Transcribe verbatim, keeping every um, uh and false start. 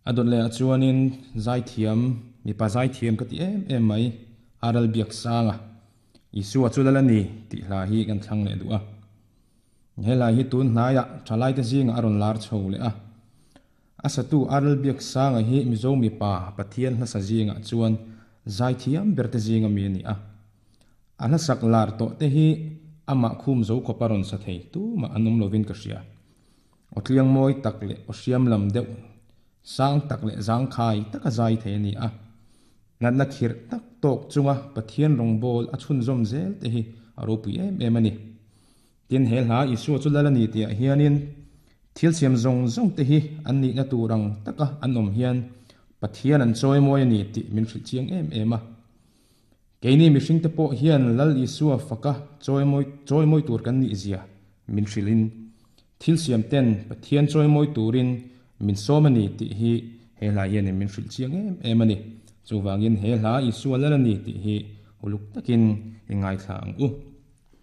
A dawt lehah chuanin zaithiam, mipa zaithiam ka ti em em mai, Aral Biaksanga, Isua chu lal a ni tih hla hi kan thlang leh duh a. He hla hi tun hnaiah thalaite zingah a rawn lar chho leh a. A satu Aral Biaksanga hi Mizo mipa Pathian hlasa zingah chuan zaithiam berte zinga mi a ni a. A hlasak lar tawh te hi amah khum zo khawp a rawn sa thei tumah an awm lovin ka hria. Aw tliang mawi tak leh aw hriam lam deuh sang tak leh zangkhai taka zai thei a ni a. Natna khirh tak tawk chunga Pathian rawngbawl a chhunzawm zel te hi a ropui em em a ni. Tin, he hla Isua chu lal a ni tihah hianin thil siam zawng zawng te hi an nihna tur ang taka an awm hian Pathian an chawimawi a ni tih min hrilh chiang em em a. Keini mihringte pawh hian Lal Isua faka chawimawi chawimawi tur kan nih zia min hrilhin thil siam ten Pathian chawimawi turin min sawm a ni tih hi he hla hianin min hrilh chiang em em a ni. Chuvangin he hla Isua lal a ni tih hi uluk takin i ngaithla ang u.